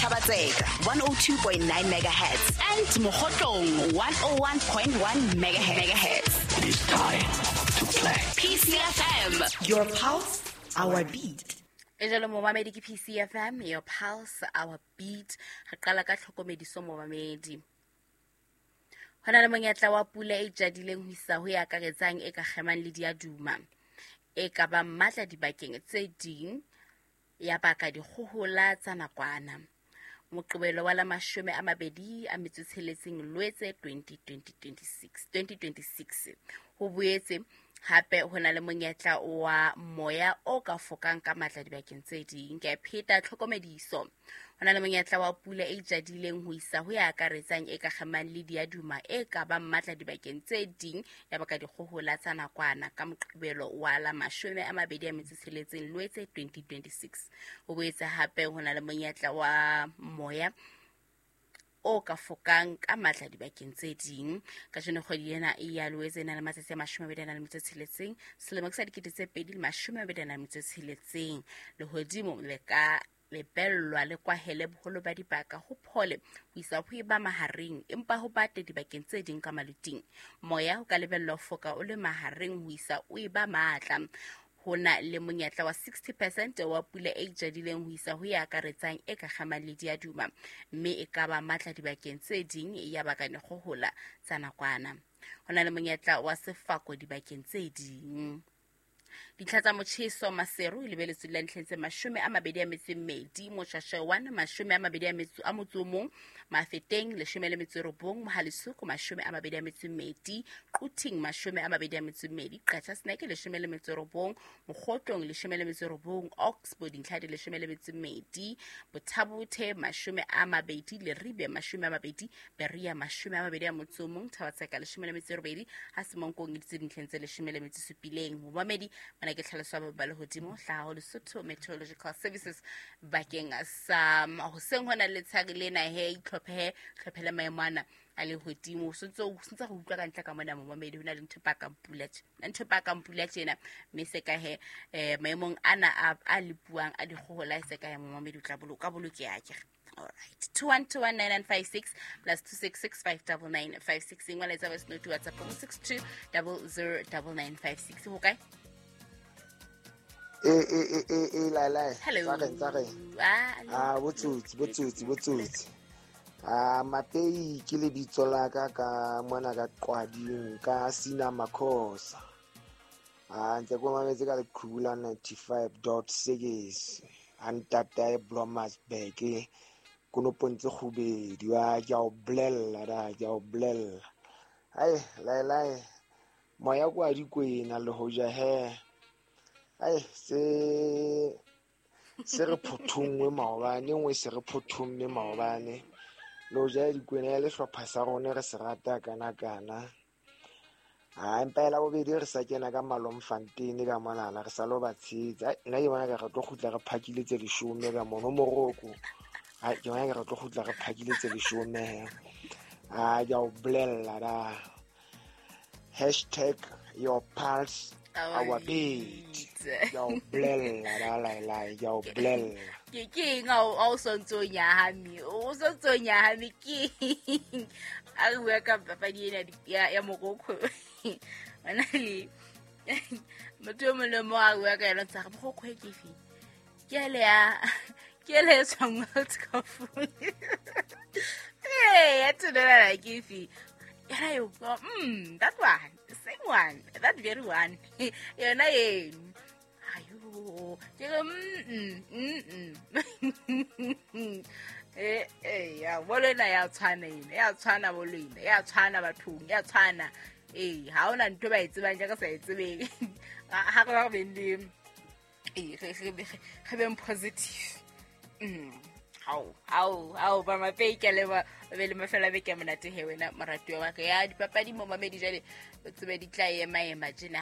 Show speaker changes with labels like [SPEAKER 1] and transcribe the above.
[SPEAKER 1] Thaba-Tseka 102.9 megahertz and Mokhotlong 101.1 megahertz.
[SPEAKER 2] It is time to play.
[SPEAKER 1] PCFM, your pulse, our beat.
[SPEAKER 3] E jalo momamedi, ke PCFM, your pulse, our beat. Re qala ka tlhokomediso, momamedi. Ho na le monyetla wa pula e jadileng ho isa ho e akaretsang e ka kgemang le diaduma e ka bang matla dibakeng tse ding, ya baka dikgohola tsa nakwana. Moqebelo wa la 26 Lwetse 2026 2026. Ho boetse hape ho na le monyetla wa moya o ka fokang ka matla dibakeng tse ding. Ke a pheta tlhokomediso. Ho na le monyetla wa pula e jadileng ho isa ho ya akaretsang e ka kgemang le diaduma e ka bang matla dibakeng tse ding, ya baka dikgohola tsa nakwana ka Moqebelo wa la 26 Lwetse 2026. Ho boetse hape ho na le monyetla wa moya o ka fokang ka matla dibakeng tse ding. Kajeno kgwedi ena ya Loetse e na le matsatsi a 26, selemo ke sa 2026. Lehodimo le ka lebellwa le kwahele boholo ba dibaka, ho phole ho isa ho eba mahareng, empa ho bate dibakeng tse ding ka maluting. Moya o ka lebellwa ho foka o le mahareng ho isa o eba matla. Ho na le monyetla wa 60% wa pula e jadileng ho isa ho e akaretsang e ka kgamang le diaduma, mme e ka ba matla dibakeng tse ding, ya baka dikgohola tsa nakwana. Ho na le monyetla wa sefako dibakeng tse ding. Dintlha tsa motjheso: Maseru e lebeletswe la ntlheng tse 22, Moshashewana 21, Mafeteng 19, Mohale'shoek 22, Quthing 22, Qacha's Nek 19, Mokhotlong 19, Oxbow dintlha di 12, Botha-Bothe 20, Leribe 20, Berea 21, Thaba-Tseka 18, ha Semonkong e ditse dintlheng tse 17. Momamedi, mana ke tlhaloso ya ba lehodimo hlaha ho Lesotho Meteorological Services bakeng sa hoseng hona le letshehare lena. He, itlhophe, tlhophele maemo ana a lehodimo. O sentse go utlwa ka ntle ka mona, momamedi, ho na le ntho e pakang pula tje, ntho e pakang pula tjena, mme se ka he maemong ana a lepuang a dikgohola, e se ka he, momamedi, o tla boloka bolokeha akere. Alright, 21219956 plus 266 599 56. Engwe letsa voice note WhatsApp 62 009956. Ho kae?
[SPEAKER 4] E e e e e lai lai.
[SPEAKER 3] Hello.
[SPEAKER 4] Tsa reng, tsa reng?
[SPEAKER 3] Ah.
[SPEAKER 4] Ah, botsotsi, botsotsi, botsotsi. Ah, Mapei ke lebitso la ka, ka mona ka Qwading, ka Sina Makhosa. Ah, ntse ko mametse ka leqhubu la 95.6 ha ntatae Blomersburg, konopong tse kgubedi. Wa ke a o bolella da, ke a o bolella. Ai lai lai, moya kwa dikwena le hoja he. Ai, se re phothungwe maobane, nngwe se re phothumme maobane. Le hoja dikwena ya le hlopha sa rona re se rata kana kana. Ha empa ela bobedi re sa kena ka Malomfontein ka monana, re sa lo ba tshehetsa. Ai, nna ke bona ka re tlo kgutla re phakile tse 10 ka mono Morocco. Ai, ke bona ka re tlo kgutla re phakile tse 10 he. Ah, ke a o bolella da. #YourPulse our beat. Ke a o bolella da, lai lai, ke a o bolella.
[SPEAKER 3] Ke eng a o sontse o nyahame? O sontse o nyahame ke eng? A re bua ka papadi ena ya Morocco. Ona le motho o mong le mong a bua ka yona, ntse a re Morocco e ke efe? Ke ele ya, ke ele e tswang World Cup. Ee, ya thunelana ke efe? Yona eo, that one, the same one, that very one. Yona eno. Ayo, ke re, ya, bolo ena ya tshwana ena, ya tshwana bolo ena, ya tshwana bathong, ya tshwana. Ee, ha hona ntho ba e tsebang jaaka sa e tsebeng. Ha re ba re beng le, ee, re beng positive. Hao, hao, hao, ba Mapei, ke a leboha. O be le mafelo a beke a monate he, wena moratuwa wa ka. Ya dipapadi, momamedi, jwale o tsebe di tla ema ema tjena.